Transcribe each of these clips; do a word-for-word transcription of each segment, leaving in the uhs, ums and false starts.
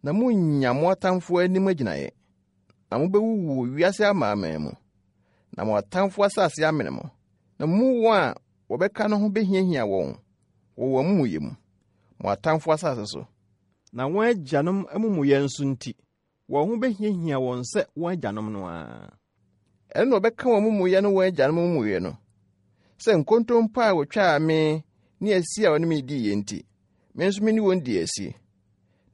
Na monnya mo atamfoɔ anim agyinaeɛ, na mobɛwuwu wɔ wiase amanaman mu, na mo atamfoɔ asase amene mo, na mo mu wɔn a wɔbɛka no ho behiahia wɔn wɔ wɔn amumuyɛ mu, mo atamfoɔ asase so. Na wɔn agyanom amumuyɛ nso nti, wɔn ho behiahia wɔn sɛ wɔn agyanom no ara. Ɛno na wɔbɛka wɔn amumuyɛ ne wɔn agyanom amumuyɛ no, sɛ nkontompo a wɔtwaa me ne asi a wɔne me diiɛ nti, me nso me ne wɔn dii asi,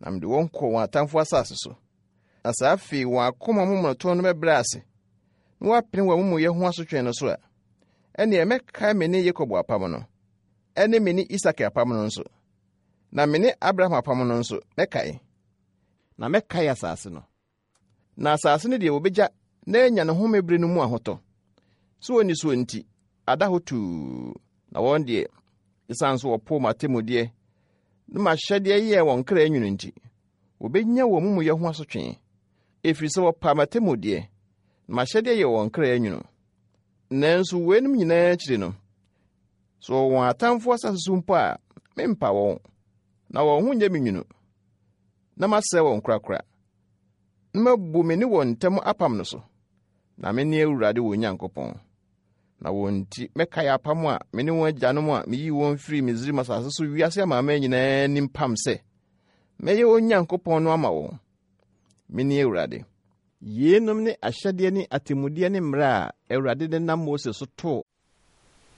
na mede wɔn kɔɔ wɔn atamfo asase so. Na saa afei wɔn akoma momonoto no bɛbrɛ ase, na wɔapene wɔn amumuyɛ ho asotwe no so a, ɛnneɛ mɛkae me ne Yakob apam no, ɛne me ne Isak apam no nso, na me ne Abraham apam no nso mɛkae, na mɛkae asase no. Na asase no deɛ wɔbɛgya na anya ne home bere no mu ahotɔ. So wɔnni soɔ nti, ada hɔ tuu, na wɔn deɛ, esiane sɛ wɔpoo m'atemmudeɛ ne m'ahyɛdeɛ yɛɛ wɔn kra nwunu nti, wɔbɛnya wɔn amumuyɛ ho asotwe, ɛfiri sɛ wɔpaa m'atemmudeɛ na m'ahyɛdeɛ yɛɛ wɔn kra nwunu. Nanso weinom nyinaa akyiri no, sɛ wɔwɔ wɔn atamfoɔ asase so mpo a, mempa wɔn, na wɔn ho nyɛ me nwunu, na masɛe wɔn korakora, na mabu me ne wɔn ntam apam no so, na mene Awurade wɔn Nyankopɔn. Na wɔn nti mɛkae apam a me ne wɔn agyanom a meyii wɔn firii Misraim asase so wiase amanaman nyinaa anim pam sɛ, mɛyɛ wɔn Nyankopɔn no ama wɔn. Mene Awurade. Yeinom ne ahyɛdeɛ ne atemmudeɛ ne mmara a Awurade de nam Mose so too